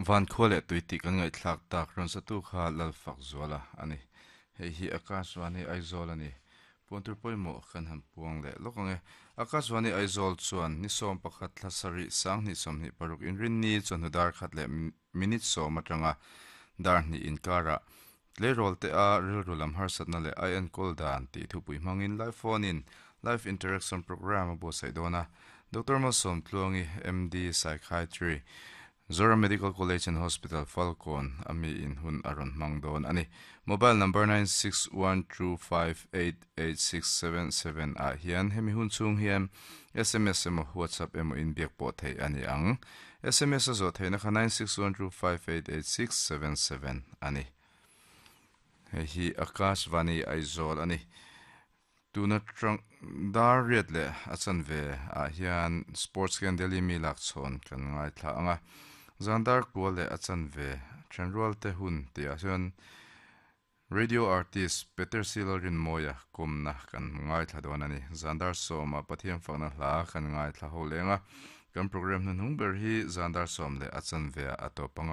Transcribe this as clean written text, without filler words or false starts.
Van khua leh tui tih kan ngaihthlak tak rawn satu kha Lalfakzuala a ni. Hei hi Akashvani Aizawl a ni. Puantur pawimawh kan han puang leh lawk ang e. Akashvani Aizawl chuan ni 11 thla sarih 2026 inrinni chawhnu dar khat leh minute sawm atanga dar hnih inkarah tleirawl te a rilru lam harsatna leh a enkawl dan tih thupui hmangin live phone in live interaction programme a buatsaih dawn a. Doctor Malsawm Tluangi, MD, Psychiatry, Zoram Medical College and Hospital, Falkawn a mi in hun a rawn hmang dawn a ni. Mobile number 9612588677 ah hian hemi hun chhung hian sms emaw WhatsApp emaw inbiak pawh theih a ni ang. Sms a zawh theihna kha 9612588677 a ni. Hei hi Akashvani Aizawl a ni. Tuna tang dar riat leh a chanve ah hian Sports Ken Delhi mi lak chhawn kan ngaithla ang a, zan dar kua leh a chanve thenrual te hun tih ah chuan Radio Artist Peter Silalrinmawia kawmna kan ngaithla dawn a ni. Zan dar sawmah Pathian fakna hla kan ngaithla ho leng a, kan program hnuhnung ber hi zan dar sawm leh a chanve ah a tawp ang a.